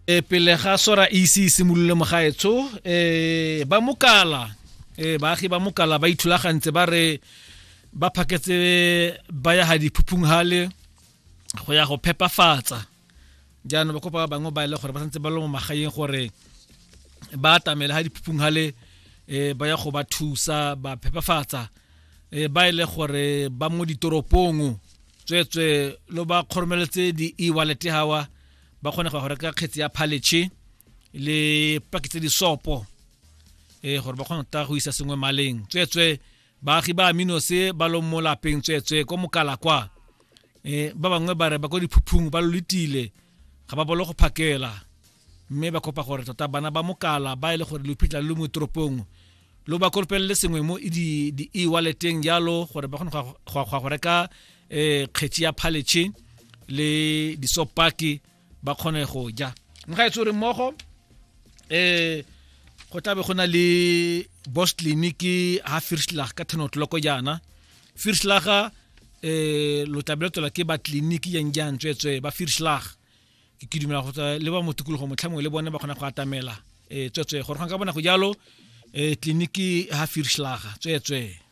E pele ga sora e ise e simolole mogaetsho, ba Mokala, baagi ba Mokala ba ithulagantse, ba re ba phaketse ba ya ga diphuphung hale go ya go phepafatsa. Jaanong ba kopa ba bangwe ba e le gore ba santse ba le mo magaeng gore ba atamele ga diphuphung hale, ba ya go ba thusa ba phepafatsa. Ba e le gore ba mo ditoropong, tsweetswe lo ba kgoromeletse di-e-wallet hawa, ba kgone go reka kgetsi ya phaletšhe le paki tse disopo, gore ba kgone go go isa sengwe maleng. Tsweetswe baagi ba Aminose ba lo mo lapeng, tsweetswe ko Mokala kwa, ba bangwe ba re ba ko diphuphung ba lo letile, ga ba bolo go phakela, mme ba kopa gore tota bana ba Mokala ba e le gore lo phitlha lo mo toropong lo ba kolopelele sengwe mo di e-walleteng jalo, gore ba kgone go reka kgetsi ya phaletšhe le disopaki ba kgone go ja. Mogaetsho re mmogo, go tlabe go na le boss clinic ha Firslag ka 10 o'clock jaana. Firslag, lo tlabe lo tswela ke ba clinic yang jang, tsweetswe ba Firslag ke dumela go tswa le ba mo tikologo motlhamongwe le bone ba kgona go atamela, tsweetswe gore ga ka bona go jalo, tleliniki ha Firslag, tsweetswe.